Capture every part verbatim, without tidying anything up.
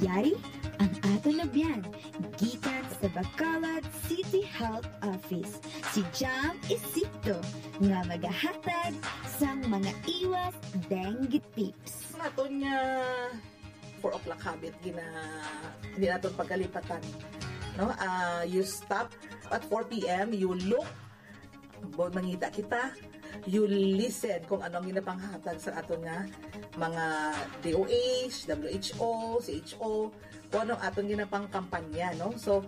Yari ang aton abyan gikan sa Bacolod City Health Office, si Jam Isikto, nga magahatag sang mga iwas dengue tips. Ang aton nga four o'clock habit, gina hindi naton pagkalipatan, no? Ah, you stop at four p.m., you look, bo- mangita kita, you listen kung ano ang ginapanghatag sa aton nga mga D O H, W H O, C H O, kung ano ang aton ginapangkampanya, no? So,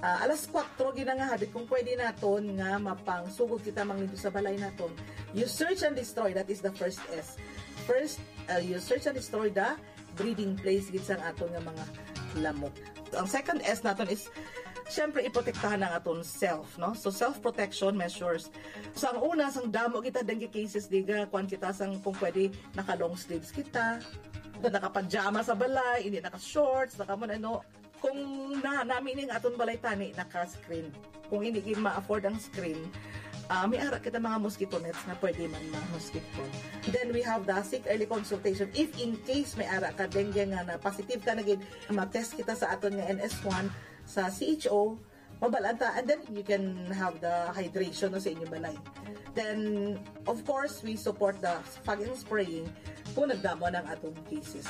ah, alas kwatro gina nga habit, kung pwede naton nga mapangsugod kita, manglimpyo sa balay naton, you search and destroy. That is the first S. First, uh, you search and destroy the breeding place gid sang aton nga mga lamok. Ang second S naton is, syempre, iprotektahan ang aton self, no? So, self-protection measures. So, ang una, sang damo kita dengue cases, diga, kuan kita sang, kung pwede, naka-long sleeves kita, nakapajama sa balay, hindi naka-shorts, naka mo ano. Kung na, nami ning aton balay tani, naka-screen. Kung hindi gid ma-afford ang screen, ah, may ara kita mga mosquito nets nga pwede man ma-mosquito. Then we have the seek early consultation. If in case may ara ka dengue nga na positive ka na gid, ma-test kita sa aton nga N S one sa C H O, mabalaan ta, and then you can have the hydration, no, sa inyong balay. Then, of course, we support the fog and spraying kung nagdamo na ang atong cases.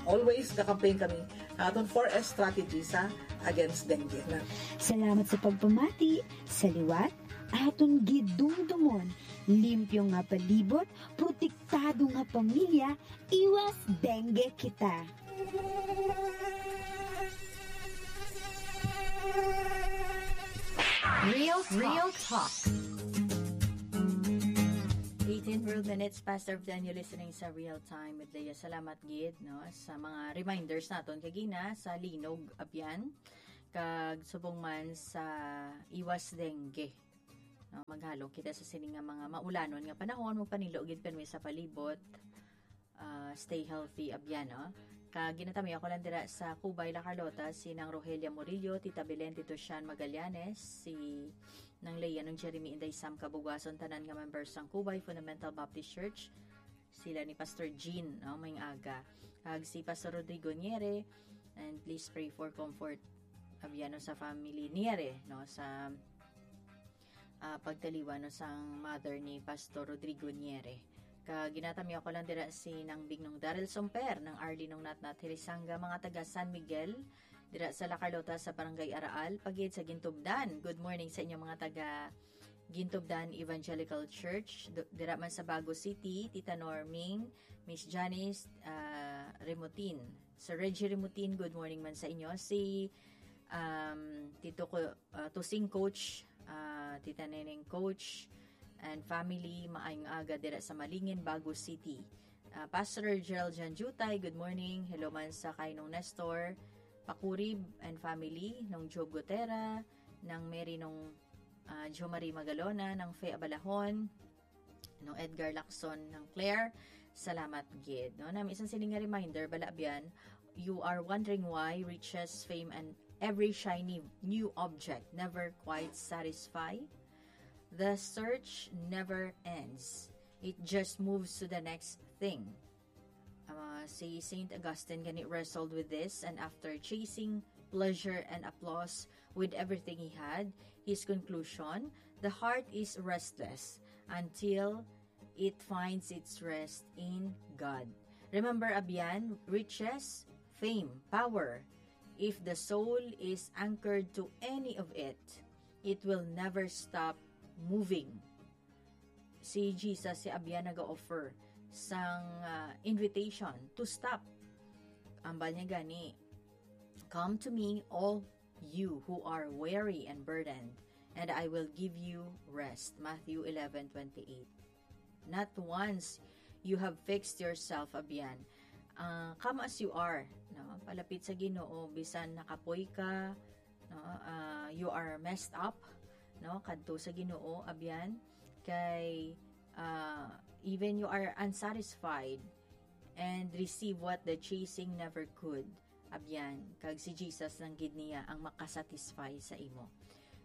Always ka-campaign kami ang atong four S strategy sa against dengue na. Salamat sa pagpamati. Sa liwat, aton gidumdumon, limpyo nga palibot, protektado nga pamilya, iwas dengue kita. Real Real Talk. Eighteen real minutes past of ten, you're listening sa Real Time with Leah. Salamat gid, no, sa mga reminders naton kagina sa linog, abyan, kag subong man sa iwas dengue. No, maghalong kita sa sini nga mga maulanon nga panahon, magpanilo gid pirmi sa palibot. Ah, stay healthy, abyan, no? Kag ginatami ako lang dira sa Cubay, La Carlota, si Nang Rogelia Murillo, Tita Belen, Tito Shan Magallanes, si Nang Leia, Nang Jeremy, Inday Sam Kabugwason, tanan nga members sang Cubay Fundamental Baptist Church, sila ni Pastor Jean, no, may aga. Kag si Pastor Rodrigo Niere, and please pray for comfort, abyan, no, sa family Niere, no, sa ah, pagtaliwan, no, sang mother ni Pastor Rodrigo Niere. Kag ginatami ako lang dira si Nang Bignong Daryl Somper, Nang Arlie, Nong Natnat Hirisanga, mga taga San Miguel, dira sa La Carlota sa Barangay Araal, pagid sa Gintubdan. Good morning sa inyo, mga taga Gintubdan Evangelical Church, do- dira man sa Bago City, Tita Norming, Miss Janice, ah, Remotin. Sir Reggie Remutin, good morning man sa inyo. Si, um, Tito ko, uh, Tusing Coach, uh, Tita Neneng Coach, and family, maayong aga dira sa Malingin, Bago City. Uh, Pastor Gerald Janjutay, good morning. Hello man sa kay Nong Nestor Pakurib and family, Nong Job Gutera, Nang Mary, Nong, uh, Jo Marie Magalona, Nang Fe Abalahon, Nong Edgar Lacson, Nang Claire, salamat gid, no? Nami isang sining nga reminder, bala, abyan, you are wondering why riches, fame, and every shiny new object never quite satisfy? The search never ends. It just moves to the next thing. Uh, si Saint Augustine gani wrestled with this, and after chasing pleasure and applause with everything he had, his conclusion, the heart is restless until it finds its rest in God. Remember, abyan, riches, fame, power. If the soul is anchored to any of it, it will never stop moving. Si Jesus, si abyan, naga-offer sang, ah, invitation to stop. Ambal niya gani, "Come to me, all you who are weary and burdened, and I will give you rest." Matthew eleven twenty-eight. Not once you have fixed yourself, abyan. Ah, come as you are, no? Palapit sa Ginoo, bisan nakapoy ka, no? Ah, you are messed up, no? Kadto sa Ginoo, abyan. Kay, ah, even you are unsatisfied, and receive what the chasing never could, abyan, kag si Jesus lang gid niya ang makasatisfy sa imo.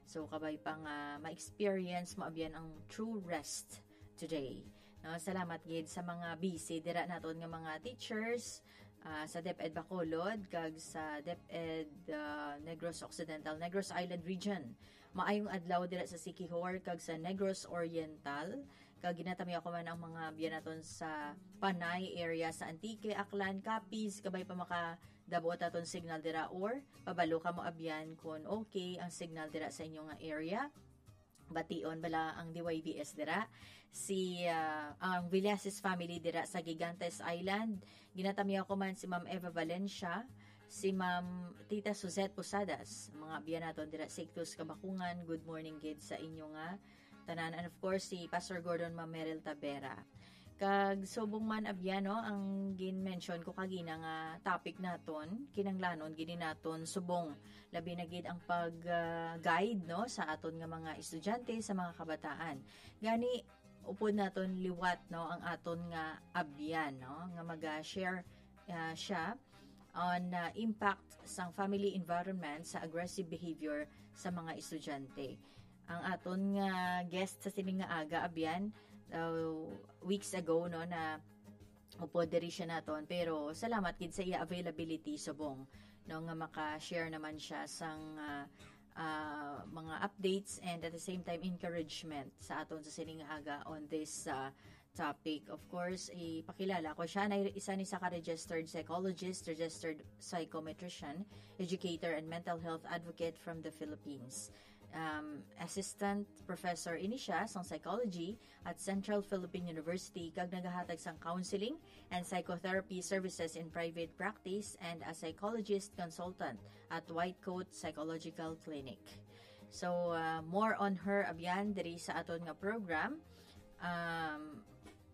So, kabay pa nga ma-experience mo, abyan, ang true rest today. No, salamat gid sa mga busy dira naton nga mga teachers, ah, sa DepEd Bacolod kag sa DepEd, ah, Negros Occidental, Negros Island Region. Maayong adlaw dira sa Siquijor kag sa Negros Oriental. Kag ginatamyaw ko man ang mga abyan naton sa Panay area sa Antique, Aklan, Capiz, kabay pa makadabot aton signal dira, or pabalo kamo abyan kon okay ang signal dira sa inyo nga area. Bation bala ang D Y V S dira. Si, ah, ang Villasis family dira sa Gigantes Island. Ginatamyaw ko man si Ma'am Eva Valencia, si Ma'am Tita Suzette Posadas, mga abyan naton dira sa Ictus, Kabakungan. Good morning gid sa inyo nga tanan. And of course, si Pastor Gordon, Ma'am Meryl Tabera. Kag subong man abyan, no, ang gin-mention ko kagina nga topic naton, kinahanglanon gid naton subong, labi na gid ang pag, ah, guide, no, sa aton nga mga estudyante, sa mga kabataan. Gani, upod naton liwat, no, ang aton nga abyan, no, nga maga-share, ah, siya on, ah, impact sang family environment sa aggressive behavior sa mga estudyante. Ang aton nga guest sa sining nga aga, abyan, uh, weeks ago, no, na upod diri siya naton, pero salamat gid sa iya availability subong, no, nga maka-share naman siya sang, ah, ah, mga updates and at the same time encouragement sa aton sa sining nga aga on this, ah, topic. Of course, ipakilala ko siya na isa ni sa ka registered psychologist, registered psychometrician, educator, and mental health advocate from the Philippines. Um, assistant professor ini siya sang psychology at Central Philippine University kag nagahatag sang counseling and psychotherapy services in private practice and a psychologist consultant at White Coat Psychological Clinic. So, uh, more on her abyan diri sa aton nga program. Um,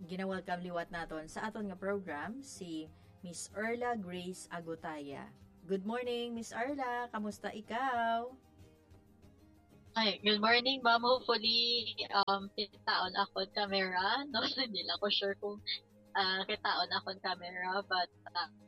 gina-welcome liwat naton sa aton nga program si Miss Erla Grace Agutaya. Good morning, Miss Erla. Kamusta ikaw? Ay, good morning, ma'am. Hopefully, um, kitaon akon camera, no? Hindi lang ko sure kung, ah, kitaon akon camera, but,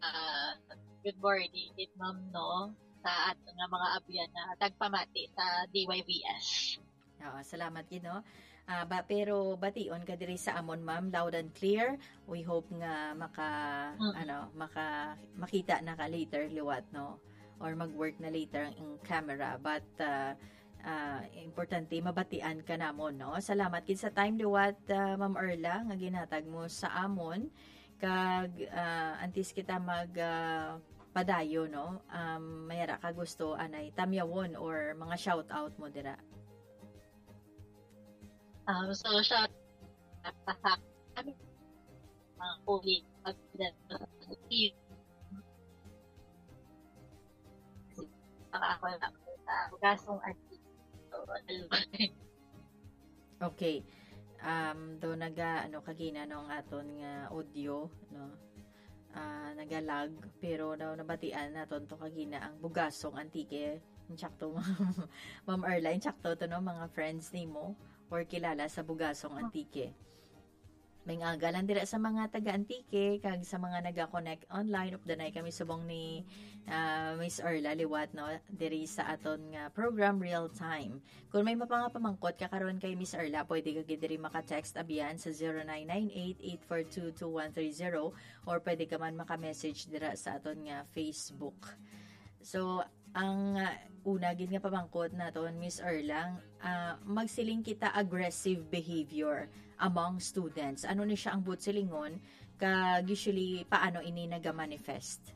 ah, good morning, ma'am, no? Sa aton nga mga abyan na tagpamati sa D Y V S. Oo, salamat gid, no? Ah, ba, pero bation ka diri sa amon, ma'am, loud and clear. We hope nga maka, Mm. ano, maka, makita na ka later liwat, no? Or mag-work na later ang camera. But, ah, ah, importante, mabatian ka namon, no? Salamat gid sa time liwat, ah, Ma'am Erla, nga ginhatag mo sa amon. Kag, ah, antes kita mag, ah, padayon, no? Um, may ara ka gusto anay tamyawon or mga shout out mo dira? Um, so, shout out sa mga colleague, saka ako lang sa gasong auntie. So, Okay. Um, do naga, ano, kagina, no, ang aton nga audio, no? Ah, naga-lag, pero, no, nabatian naton to kagina ang Bugasong Antique. Insakto, Ma'am Erla, insakto to, no, mga friends nimo or kilala sa Bugasong Antique. May aga lang dira sa mga taga Antique kag sa mga naga-connect online. Updanay kami subong ni, ah, Miss Erla liwat, no, diri sa aton nga program Real Time. Kung may mga pamangkot ka karon kay Miss Erla, pwede ka gid diri maka-text abyan sa zero nine nine eight, eight four two, two one three zero, or pwede ka man maka-message dira sa aton nga Facebook. So, ang, ah, una gid nga pamangkot naton, Miss Erla, ah, magsiling kita aggressive behavior among students. Ano ni siya ang buot silingon? Kag usually, paano ini nagamanifest?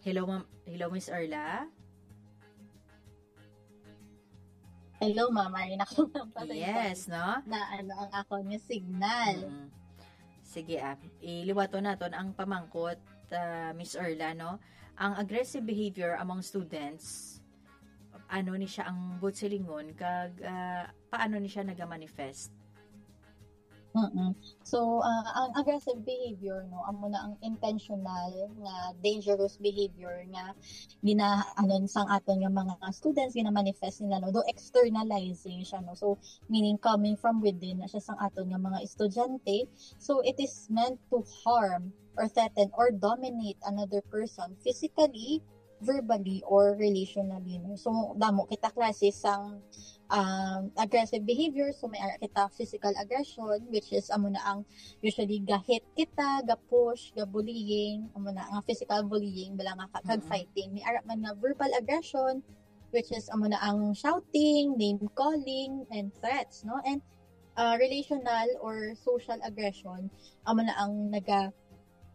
Hello, ma'am. Hello, Miss Erla. Hello, ma'am. Ay, naku, Yes, no? Na ano ang akon nga signal. Mm. Sige, ah. Iliwaton naton ang pamangkot, ah, Miss Erla, no? Ang aggressive behavior among students, ano ni siya ang buot silingon, kag, ah, paano ni siya nagamanifest? Mm-mm. So, ah, ang aggressive behavior, no, amo na ang intentional nga dangerous behavior nga gina-, ano, sang aton nga mga students, gina-manifest nila, no, do externalizing siya, no. So, meaning coming from within na siya sang aton nga mga estudyante. So, it is meant to harm or threaten or dominate another person physically, verbally or relationally, no? So, damo kita klase sang, um, aggressive behavior. So, may ara kita physical aggression, which is amo na ang usually ga-hit kita, ga-push, ga-bullying, amo na nga physical bullying, bala nga ka-, kag Mm. fighting. May ara man nga verbal aggression, which is amo na ang shouting, name calling, and threats, no? And, uh, relational or social aggression, amo na ang naga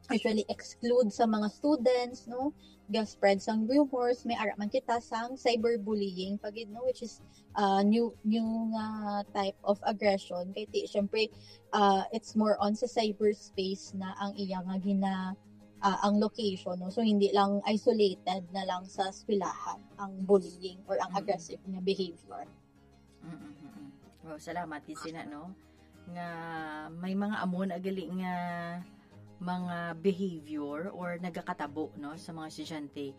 usually exclude sa mga students, no? Ga-spread sang rumors, may ara man kita sang cyberbullying pa gid, no? Which is, uh, new, new nga type of aggression. Kay ti, syempre, uh, it's more on sa cyberspace na ang iya nga gina-, uh, ang location, no? So, hindi lang isolated na lang sa eskwelahan ang bullying or ang Mm. aggressive nga behavior. Mm, mm, mm. Wow, salamat gid sina, no? Nga may mga amo na gali nga mga behavior or nagakatabo, no, sa mga estudyante.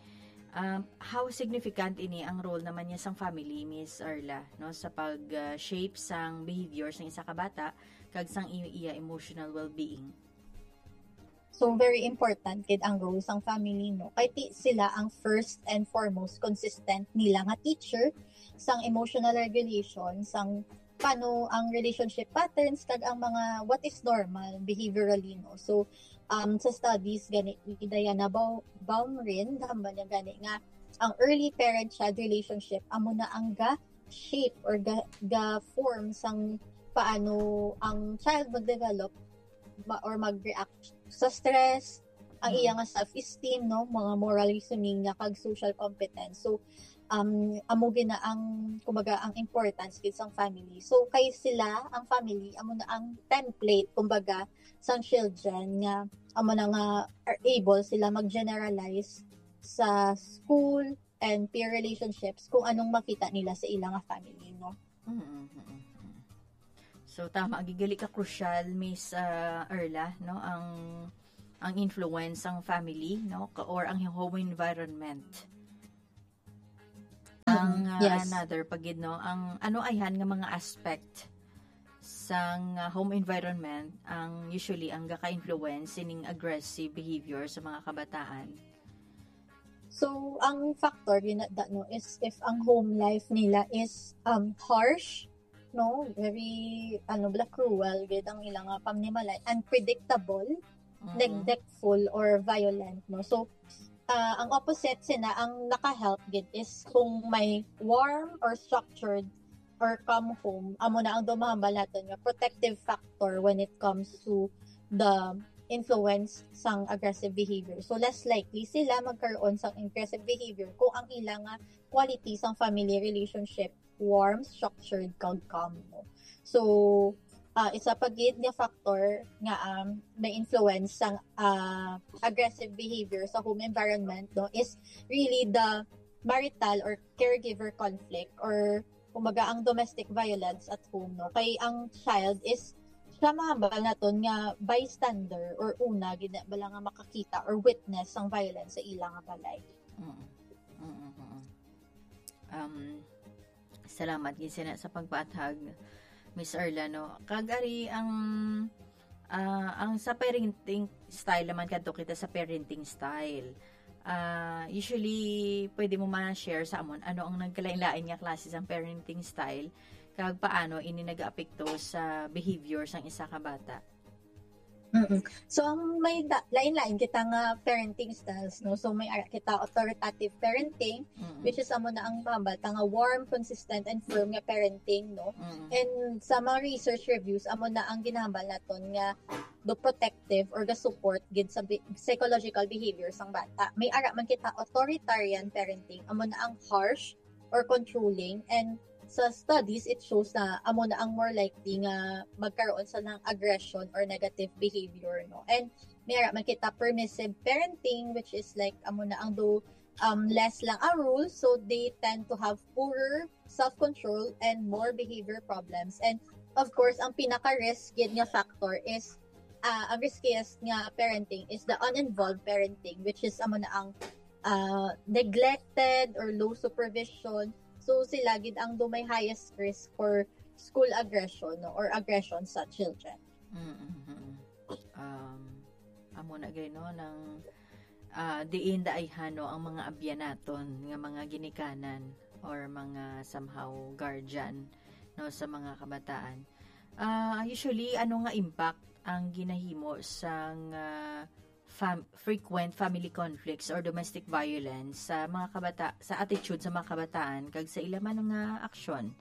Um, how significant ini ang role naman niya sang family, Miss Arla, no, sa pag, uh, shape sang behavior sang isa ka bata kag sang i-, iya emotional well-being? So, very important gid ang role sang family, no? Kay ti sila ang first and foremost consistent nila nga teacher sang emotional regulation, sang paano ang relationship patterns, kag ang mga what is normal behaviorally, no? So, um, sa studies gani ni Diana Bau-, Baumrind, hambal niya gani nga ang early parent-child relationship amo na ang ga-shape or ga-, ga-form sang paano ang child mag-develop ma-, or mag-react sa stress, ang Mm. iya nga self-esteem, no, mga moral reasoning niya, kag social competence. So, um, amo gid na ang, kumbaga, ang importance gid sang family. So, kay sila, ang family, amo na ang template, kumbaga, sang children nga amo na nga are able sila mag-generalize sa school and peer relationships kung anong makita nila sa ila nga family, no? Mm, mm, mm, mm. So, tama, gid gali ka crucial, Miss, ah, Erla, no, ang, ang influence sang family, no, ka-, or ang home environment. Ang, Mm, ah, yes. another pa gid, no, ang ano ayhan nga mga aspect sang, ah, home environment ang usually ang gaka-influence sining aggressive behavior sa mga kabataan? So, ang factor gid na, da-, no, is if ang home life nila is, um, harsh, no, very, ano, bala, cruel gid ang ilang, ah, pamanimalay, unpredictable, Mhm. neglectful, or violent, no. So, ah, ang opposite sina, ang naka-help gid is kung may warm or structured or calm home, amo na ang dumahambal naton nga protective factor when it comes to the influence sang aggressive behavior. So, less likely sila magkaroon sang aggressive behavior kung ang ila nga quality sang family relationship warm, structured, kag calm, no? So, ah, isa pa gid nga factor nga, um, may influence sang, ah, aggressive behavior sa home environment, no, is really the marital or caregiver conflict or, kumbaga, ang domestic violence at home, no? Kay ang child is siya mahambal naton nga bystander or una gid na bala nga makakita or witness sang violence sa ila nga balay. Mm. Mm, mm, mm. Um, salamat gid sina sa pagpaathag, Miss Erla, no? Kag ari ang, ah, ang sa parenting style naman, kadto kita sa parenting style. Ah, usually, pwede mo man share sa amon ano ang nagkalain-lain nga klase sang parenting style kag paano ini nagaapekto sa behavior sang isa ka bata? Mm. So, ang may da-, lain-lain kita nga parenting styles, no? So, may ara kita authoritative parenting, Mm-mm. which is amo na ang mahambal ta nga warm, consistent, and firm nga parenting, no? Mm-mm. And sa mga research reviews, amo na ang ginahambal naton nga do protective or ga-support gid sa bi-, psychological behavior sang bata. May ara man kita authoritarian parenting, amo na ang harsh or controlling, and sa studies, it shows na amo na ang more likely nga magkaroon sa ng aggression or negative behavior, no? And may ara man kita permissive parenting, which is like, amo na ang do, um, less lang ang rules, so they tend to have poorer self-control and more behavior problems. And of course, ang pinaka-risk gid nga factor is, ah, ang riskiest nga parenting is the uninvolved parenting, which is amo na ang, ah, neglected or low supervision. So, sila gid ang do may highest risk for school aggression, no, or aggression sa children. Mm, mm, mm. Um, amo na gay, no, nang ah, diin daayhan, no, ang mga abyan naton nga mga ginikanan or mga somehow guardian, no, sa mga kabataan. Ah, usually, ano nga impact ang ginahimo sang, ah, fam- frequent family conflicts or domestic violence sa mga kabata sa attitude sa mga kabataan kag sa ila man nga aksyon?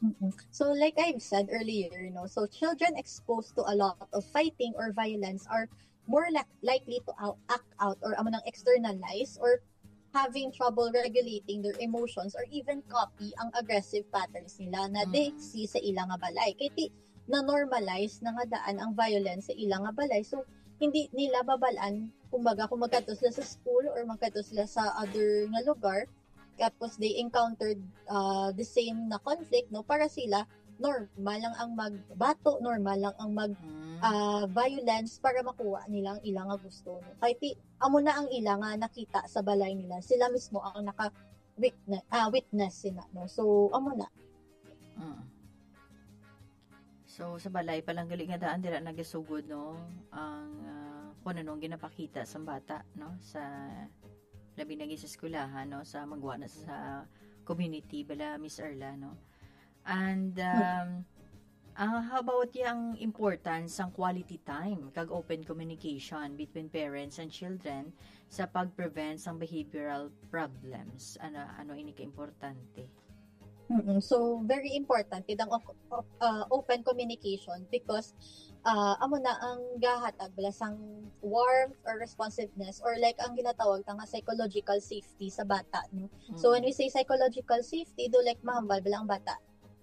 Mm-mm. So, like I've said earlier, no, so children exposed to a lot of fighting or violence are more li- likely to out, act out or amo nang externalize or having trouble regulating their emotions or even copy ang aggressive patterns nila na they Mm. see sa ila nga balay. Kay ti na-normalize na nga daan ang violence sa ila nga balay. So, hindi nila babalaan, kumbaga, kung magkadto sila sa school or magkadto sila sa other nga lugar, tapos they encountered uh, the same na conflict, no? Para sila, normal lang ang magbato, normal lang ang mag Mm. uh, violence para makuha nila ang ilang nga gusto, no? Kay ti, amo na ang ila nga nakita sa balay nila. Sila mismo ang naka witness, ah, witness sila, no? So, amo na. Mm. So, sa balay pa lang gali nga daan dira nagasugod, no, ang, ah, kung ano ang ginapakita sa bata, no, sa labi na gid sa eskwelahan, no, sa magwa na sa community bala, Miss Erla, no. And um, ah, how about yung importance ng quality time kag open communication between parents and children sa pag-prevent sang behavioral problems? Ano ano ini ka importante? Mm-mm. So, very important gid ang op- op- uh, open communication because uh, amo na ang gahatag bala sang warmth or responsiveness or like ang ginatawag ta nga psychological safety sa bata, no? So, when we say psychological safety, do like mahambal bala ang bata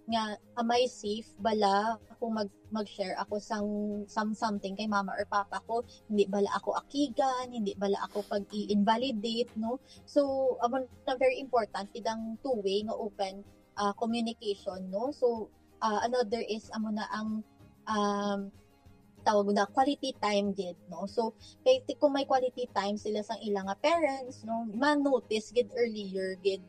nga am I safe bala kung mag mag-share ako sang some something kay mama or papa ko, hindi bala ako akigan, hindi bala ako pag-i-invalidate, no? So, amo na very important gid ang two-way nga open uh, communication, no? So, uh, another is amo na ang um, tawag na quality time gid, no? So, kay ti- kung may quality time sila sang ila nga parents, no, ma-notice gid earlier gid